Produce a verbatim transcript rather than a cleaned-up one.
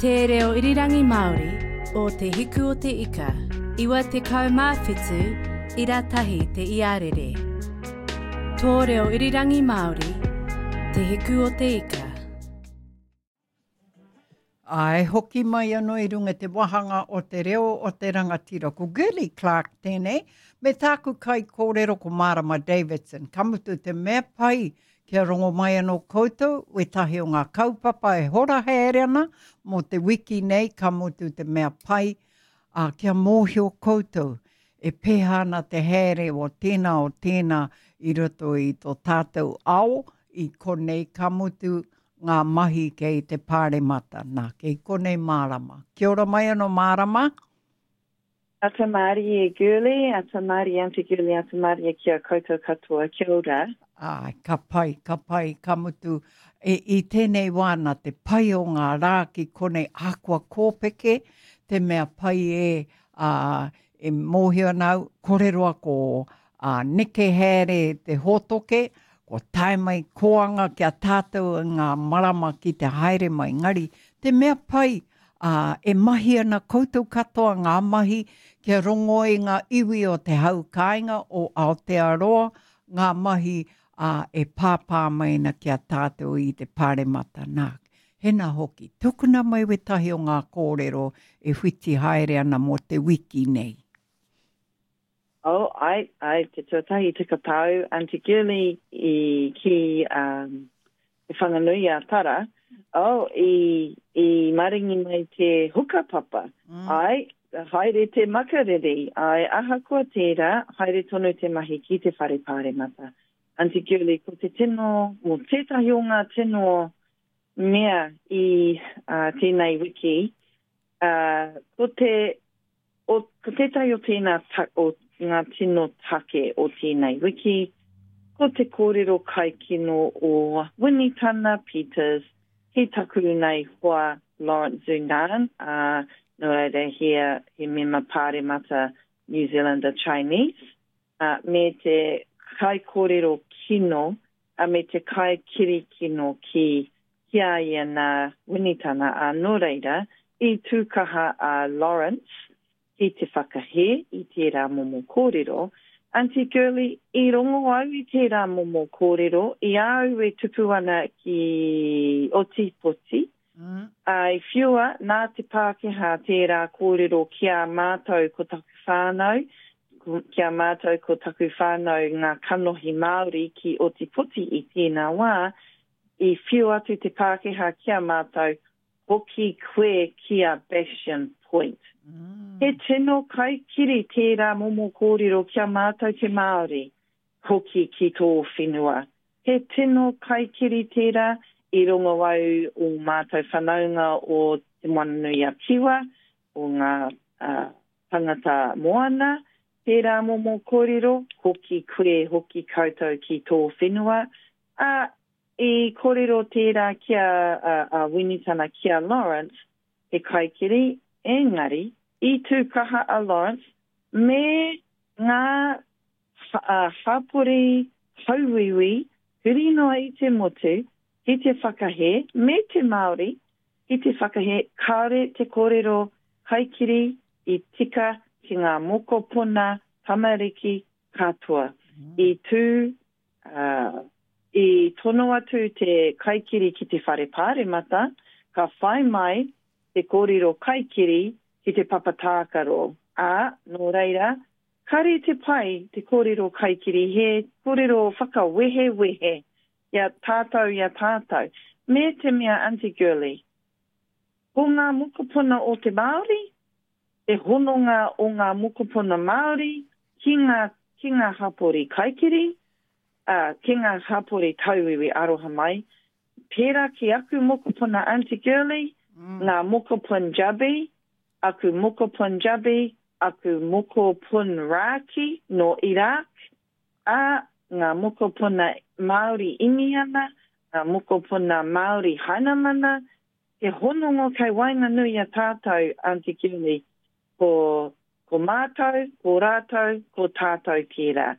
Te reo irirangi Māori o Te Hiku o Te Ika, iwa tekau mā whitu, ira tahi te iarere. Tō reo irirangi Māori, Te Hiku o Te Ika. Āe, hoki mai anō i runga i te wāhanga o te reo o te rangatira. Ko Girlie Clarke tēnei, me tāku kaikōrero ko Marama Davidson. Ka mutu te mea pai kia rongo mai anō koutou wētahi o ngā kaupapa e hora haere ana mō te wiki nei, ka mutu te mea pai, ā, kia mōhio koutou e pēhea ana te haere o tēnā o tēnā i roto i tō tātou ao i konei, ka mutu ngā mahi kei te pāremata. Nā, kei konei Marama. Kia ora mai anō Marama. Ata mārie Girlie, ata mārie Aunty Girlie, ata mārie ki a koutou katoa, kia ora. Āe, ka pai, ka pai, ka mutu, e, i tēnei wā nā te pai o ngā rā ki konei ahakoa kōpeke, te mea pai e, ā, e mōhio ana au, kore roa ko ā, neke haere te hōtoke, kua tae mai kōanga ki a tātou i ngā marama ki te haere mai. Engari, te mea pai, ā, e mahi ana koutou katoa ngā mahi kia rongo ai ngā iwi o te hau kāinga o Aotearoa ngā mahi ā, e pāpā mai ana ki a tātou i te pāremata. Nā, hena hoki, tukuna mai wētahi o ngā kōrero e whiti haere ana mō te wiki nei. Oh, ai, ai, te tuatahi te kapau, Aunty Girlie i ki um, Te Whanganui a Tara, oh, i, i maringi mai te hukapapa. Mm. Ai, haere te makariri, ai, ahakoa tērā, haere tonu te mahi ki te whare pāremata. Aunty Girlie, ko te tino, mo tētahi o ngā tino mea i uh, tēnei wiki, uh, ko te, o, ko tētahi o tēnā ta, o ngā tino take o tēnei wiki, ko te kōrero kaikino o Winitana Peters ki taku nei hoa Lawrence Zunan, uh, nō reira he, he mema pāremata New Zealander Chinese, uh, me te kaikōrero kino, uh, me te kaikiri kino ki, ki a ia nā Winitana, a nō reira, i tūkaha a Lawrence ki te whakahē i tērā momo kōrero. Aunty Girlie, i rongo au i tērā momo kōrero, i a au e tupu ana ki Ōtepoti, mm. a i whiua nā te Pākehā tērā kōrero ki a mātou ko taku whānau, ki a mātou ko taku whānau ngā kanohi Māori ki Ōtepoti i tēnā wā, i whiu atu te Pākehā ki a mātou, hoki koe ki a Bastion Point. Mm. He tino kaikiri tērā momo kōrero ki a mātou te Māori, hoki ki tō whenua. He tino kaikiri tērā i rongo au o mātou whanaunga o Te Moananui-a-Kiwa, o ngā uh, tangata moana, tērā momo kōrero, hoki koe, hoki koutou ki tō whenua. A, i kōrero tērā ki a, a, a Winitana ki a Lawrence, he kaikiri, engari, i tū kaha a Lawrence me ngā uh, hapori tauiwi huri noa i te motu ki te whakahē, me te Māori ki te whakahē, kāore te kōrero kaikiri i tika ki ngā mokopuna tamariki katoa. Mm. I tū, uh, i tono atu te kaikiri ki te whare pāremata, ka whai mai te kōrero kaikiri ki te papa tākaro. Ā, nō reira, kāre te pai te kōrero kaikiri, he kōrero whakawehewehe i a tātou i a tātou. Me te mea Aunty Girlie, ko ngā mokopuna o te Māori, te hononga o ngā mokopuna Māori ki ngā, ki ngā hapori kaikiri, uh, ki ngā hapori tauiwi aroha mai, pērā ki aku mokopuna Aunty Girlie, mm. ngā moko Punjabi, aku moko Punjabi, aku mokopun Rāki no Iraq, a ngā mokopuna Māori Iniana, ngā mokopuna Māori Hainamana, he hononga kei waenganui a tātou, Aunty Girlie, ko, ko mātou, ko rātou, ko tātou tērā.